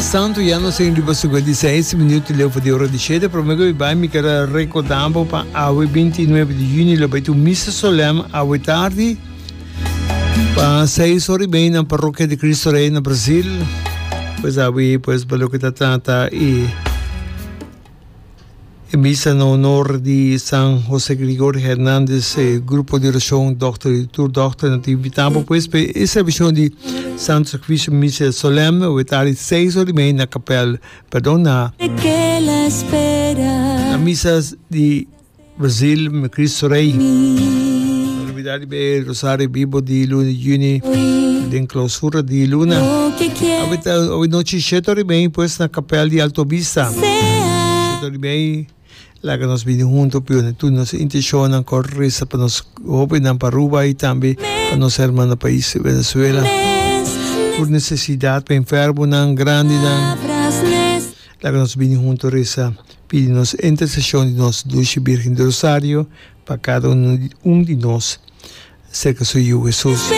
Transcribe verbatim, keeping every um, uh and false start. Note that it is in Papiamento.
Mientras tanto, ya nos tin riba sinkuenta i seis minuut leu for di ora di shete. Prome ku mi bai, mi ker a rekorda bo pa awe binti i nuebe di yüni lo bai tin un misa solèm awe tardi pa seis ora i mei na Parrokia di Cristo Rey na Brasil. Pues awe pues pa loke ta trata e E misa na honor di San Jose Gregorio Hernandez, e grupo di oracion Dokter y tur dokternan ta invita bo pues pa e servicion di Santo Sacrificio Misa Solemne awe tardi seis ora y media na kapel, perdon na na misa di Brazil Cristo Rey. No olbida riba e Rosario Bibo di luna di juni den clausura di luna. Awe ta awe nochi shete ora y media pues na kapel di Alto Vista. Shete ora y media laga nos bini hunto pone tur nos intencionnan con reza pa nos hobennan pa Aruba y tambe pa nos hermano pais Venezuela. Tur necesidad pa enfermonan, grandinan. Laga nos bini hunto reza pidi nos intercesion di nos Dushi Virgen di Rosario pa cada un di nos cerca su Yiu Jesus.